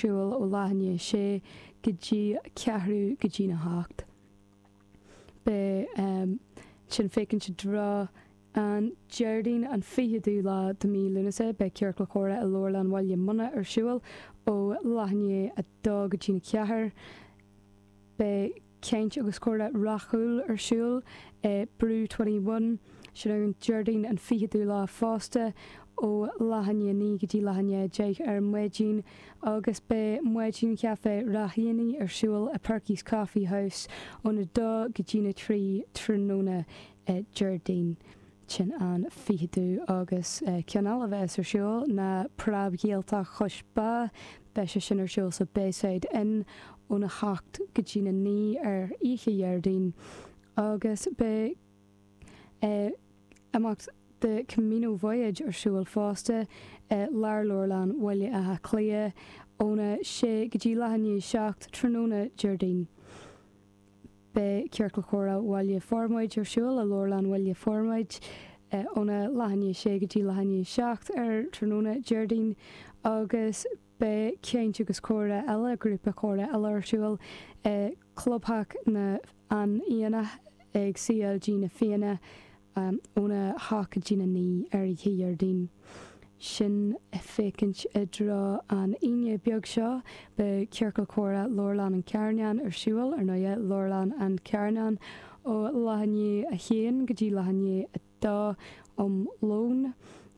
siúl ó leath i ndiaidh a sé go dtí ceathrú go dtína hocht. Beidh sin féachaint i dtreo an Déardaoin an 20ú lá de mí Lúnasa. Beidh Ciorcal Comhrá i Leabharlann Bhaile Munna ar siúl ó leath i ndiaidh a dó go dtína ceathair. Beidh caint agus comhrá rathúil ar siúl i Brew 21, sin ar an Déardaoin an 20ú lá fosta, ó leath i ndiaidh 9 go dtí leath i ndiaidh 10 ar maidin agus beidh maidin chaife Ráithíní ar siúl i Perky's Coffee House óna 2 go dtína 3 tráthnóna Déardaoin. Sin an 20ú agus ceann eile a bheas ar siúl ná Preab-Ghaeltacht Chois Bá. Beidh sé sin ar siúl sa Bayside Inn óna hocht go dtína naoi ar oíche Dhéardaoin agus beidh imeacht The Camino Voyage ar siúl fosta i Lárleabharlann Bhaile Átha Cliath óna sé go dtí leath i ndiaidh 7 tráthnóna Déardaoin. Beidh Ciorcal Comhrá Bhaile Formaid ar siúl i Leabharlann Bhaile Formaid óna leath i ndiaidh 6 go dtí leath i ndiaidh 7 ar tráthnóna Déardaoin agus beidh caint agus comhrá eile, grúpa comhrá eile ar siúl i gClubtheach na an Aonach ag CLG Na Fianna óna hocht go dtína naoi ar oíche Dhéardaoin. Sin féachaint i dtreo an Aoine beag seo, beidh Ciorcal Comhrá Leabharlann an Charnáin ar siúl, ar ndóighe, Leabharlann an Charnáin, ó leath i ndiaidh a haon go dtí leath i ndiaidh a dó um lón.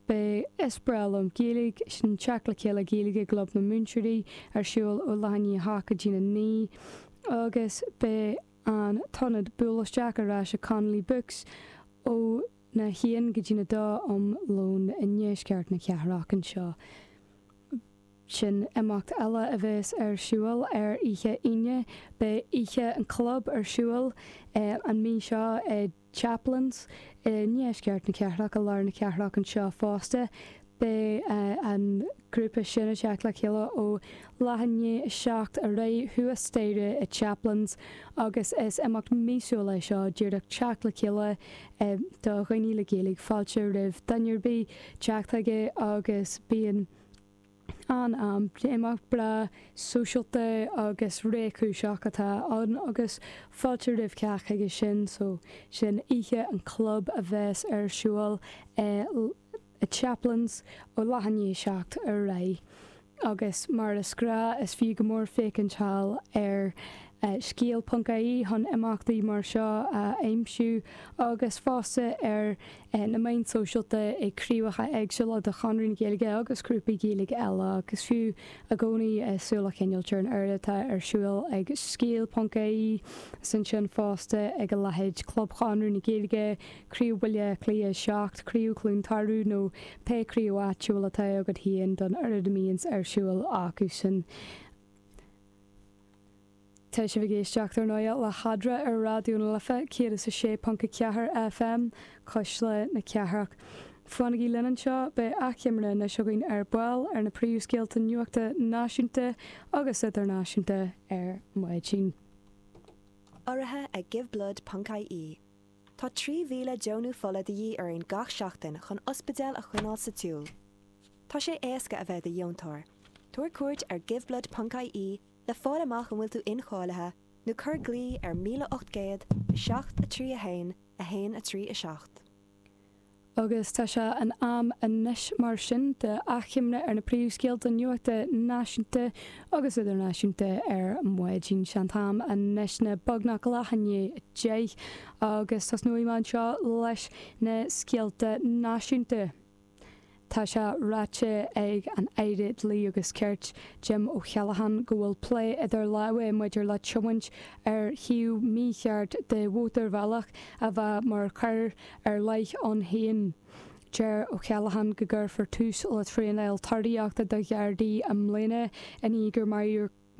Beidh Is Breá Liom Gaeilge, sin teacht le chéile Gaeilge i gClub na Múinteoirí, ar siúl ó leath i ndiaidh a hocht go dtína naoi agus beidh an t-ionad Buail Isteach ar ais i Connolly Books ó na haon go dtína dó um lón i ndeisceart na cathrach anseo. Sin imeacht eile a bheas ar siúl ar oíche Aoine. Beidh Oíche an Chlub ar siúl an mhí seo i Chaplin's i ndeisceart na cathrach, i lár na cathrach anseo fosta. Beidh an grúpa sin ag teacht le chéile ó leath i ndiaidh a 7 ar aghaidh thuas staighre i Chaplin's agus is imeacht míosúil é seo, díreach teacht le chéile do dhaoine le Gaeilge. Fáilte roimh duine ar bith teacht chuige agus bíonn an-am. Imeacht breá sóisialta agus réchúiseach atá ann agus fáilte roimh chách chuige sin. So sin Oíche an Chlub a bheas ar siúl i i Chaplin's ó leath i ndiaidh 7 ar aghaidh agus mar is gnáth is fiú go mór féachaint thall ar scéal.ie chun imeachtaí mar seo a aimsiú agus fosta ar na meáin sóisialta ag craobhacha éagsúla de Chonradh na Gaeilge agus grúpaí Gaeilge eile agus fiú i gcónaí súil a choinneáilt ar an oiread atá ar siúl ag scéal.ie is ansin fosta ag a leithéid Club Chonradh na Gaeilge, Craobh Bhaile Átha Cliath 7, Craobh Chluain Tarbh nó pé craobh áitiúil atá agat féin don oiread a mbíonns ar siúl acusan. Tá sibh ag éisteacht, ar ndóigh, le hEadra ar Raidió na Life 106.4 FM, Cuisle na Cathrach. Fanaigí linn anseo, beidh achoimre anois againn ar ball ar na príomhscéalta nuachta náisiúnta agus idirnáisiúnta ar maidin. Urraithe ag Giveblood.ie. Tá 3,000 deonú fola de dhíth orainn gach seachtain chun ospidéil a choinneáil sa tsiúl. Tá sé éasca a bheith i do dheontóir. Tabhair cuairt ar giveblood.ie le fáil amach an bhfuil tú incháilithe nó cuir glao ar 1800 7 3 1 1 3 7. Agus tá sé in am anois mar sin do achoimre ar na príomhscéalta nuachta náisiúnta agus idirnáisiúnta ar maidin. Sé an t-am anois ná beagnach leath i ndiaidh 10 agus tosnóidh mé anseo leis na scéalta náisiúnta. Tá sé ráite ag an Aire Dlí agus Cirt, Jim Ó Callaghan, go bhfuil plé idir lámha maidir le tiomáint ar thaobh mícheart de mhótarbhealach a bheith mar choir ar leith ann féin. Deir Ó Callaghan go gcuirfear tús le traenáil toraíochta do Ghardaí i mbliana i ndiaidh gur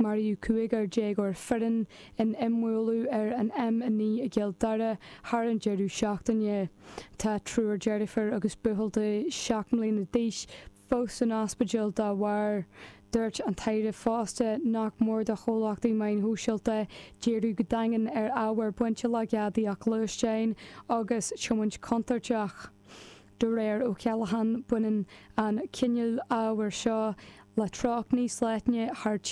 maraíodh cúigear déagóir fireann in imbhualadh ar an M9 i gCill Dara thar an deireadh seachtaine. Tá triúr deirfiúr agus buachaill de 7 mbliana d'aois fós san ospidéal dá bharr. Dúirt an tAire fosta nach mór do chomhlachtaí meáin shóisialta díriú go daingean ar ábhar bainte le gadaíocht gluaisteáin agus tiomáint chontúirteach. De réir Ó Callaghan, baineann an cineál ábhair seo le treocht níos leithne thar.